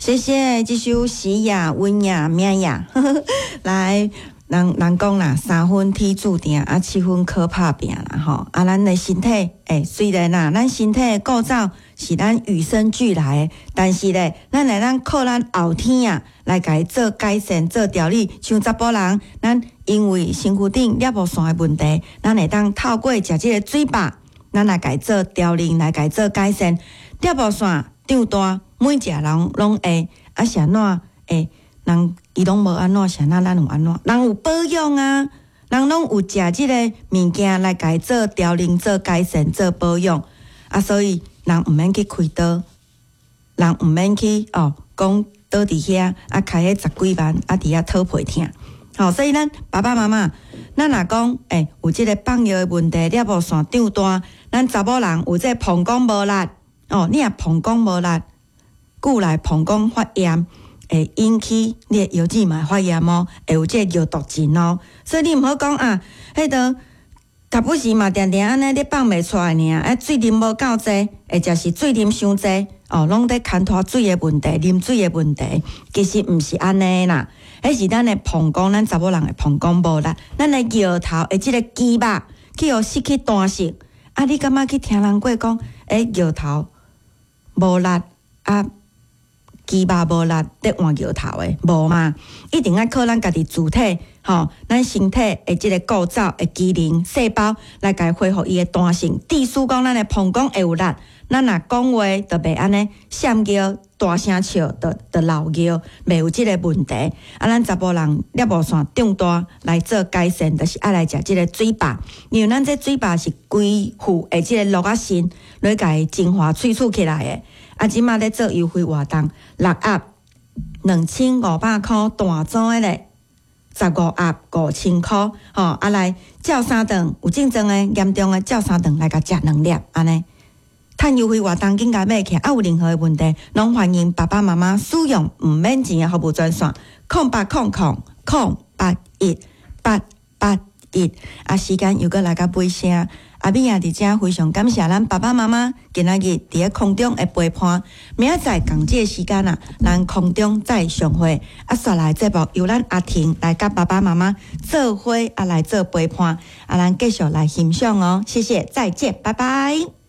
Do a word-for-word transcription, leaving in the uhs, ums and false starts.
謝謝這首喜雅、溫雅、妙雅，來。人人講啦，三分天注定，啊七分靠拍拚啦吼。啊，咱的身體，欸，雖然啦，咱身體的構造是咱與生俱來的，但是咧，咱會當靠咱後天啊來共伊做改善、做調理。像查埔人，咱因為身軀頂尿布腺的問題，咱會當透過食這个水肉，咱來共伊做調理，來共伊做改善。尿布腺長大，每一个人攏會，啊是按怎會？人伊攏無按怎，是按怎咱有按怎？人有保養啊，人攏有食這个物件來共伊做調理、做改善、做保養啊，所以人毋免去開刀，人毋免去哦，講倒佇遐啊，開彼十幾萬啊，佇遐討皮疼。吼，所以咱爸爸媽媽，咱若講欸有這个放尿的問題，尿布腺長大，咱查某人有這个膀胱無力哦，你若膀胱無力，久來膀胱發炎。會引起你的腰子嘛會發炎哦，會有這个尿毒症哦。所以你毋好講啊，彼個時不時嘛定定按呢咧放袂出來爾，啊水啉無夠濟，或者是水啉傷濟，哦，攏咧牽拖水的問題、啉水的問題，其實毋是按呢啦。彼是咱的膀胱，咱查某人的膀胱無力，咱的尿頭的這个肌肉去予失去彈性。啊，你感覺去聽人過講，欸，尿頭無力啊？肌肉無力，咧換尿頭的無嘛？一定愛靠咱家己主體，吼，咱身體的這个構造的機能細胞來共伊恢復伊的彈性。意思講，咱的膀胱會有力，咱若講話就袂按呢閃尿、大聲笑，就就漏尿，袂有這个問題。啊，咱查埔人尿布腺長大來做改善，就是愛來食這个水肉，因為咱這水肉是規副的這个鹿仔腎來共伊精華萃取起來的。啊，這馬咧做優惠活動，六盒兩千五百箍，大組的咧，十五盒五千箍，吼啊來照三頓，有症狀的嚴重的照三頓來共食兩粒，按呢。趁優惠活動緊共買起來，啊有任何的問題，攏歡迎爸爸媽媽使用毋免錢的服務專線，空八空空空八一八八一。啊，時間又閣來到尾聲。阿美也佇遮非常感謝咱爸爸媽媽今仔日佇咧空中的陪伴。明仔載仝這个時間啊，咱空中再相會。啊，紲來節目由咱阿婷來佮爸爸媽媽做伙啊來做陪伴。啊，咱繼續來欣賞哦，謝謝，再見，拜拜。